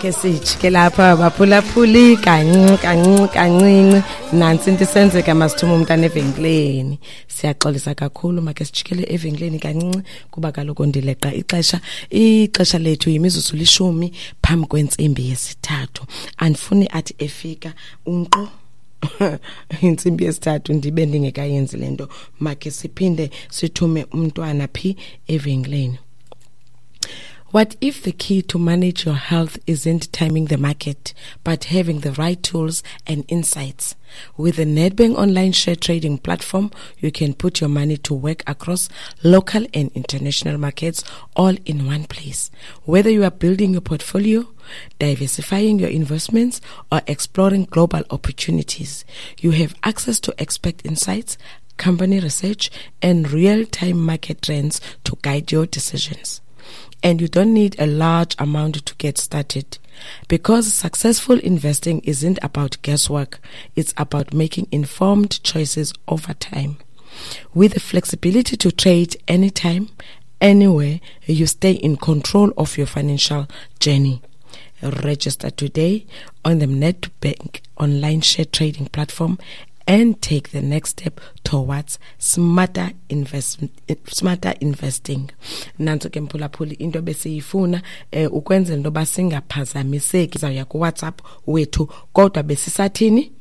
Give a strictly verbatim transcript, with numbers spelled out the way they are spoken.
Makhe sijike lapha, baphulaphuli, kancinci kancinci kancinci. Nantsi into isenzeka, masithume umntana evenkileni. Siyaxolisa kakhulu, makhe sijikele evenkileni kancinci kuba kaloku ndileqa ixesha. Ixesha lethu yimizuzu lishumi phambi kwentsimbi yesithathu. Andifuni athi efika unqo intsimbi yesithathu ndibe ndingekayenzi le nto. Makhe siphinde sithume umntwana phi? Evenkileni. What if the key to manage your health isn't timing the market, but having the right tools and insights? With the Nedbank online share trading platform, you can put your money to work across local and international markets all in one place. Whether you are building your portfolio, diversifying your investments, or exploring global opportunities, you have access to expert insights, company research, and real-time market trends to guide your decisions. And you don't need a large amount to get started. Because successful investing isn't about guesswork, it's about making informed choices over time. With the flexibility to trade anytime, anywhere, you stay in control of your financial journey. Register today on the Nedbank online share trading platform and take the next step towards smarter investment, smarter investing. Nantso ke, mphulaphuli, into besiyifuna eh ukwenzela into yoba singaphazamiseki. Zawuya kuWhatsApp wethu, kodwa besisathini?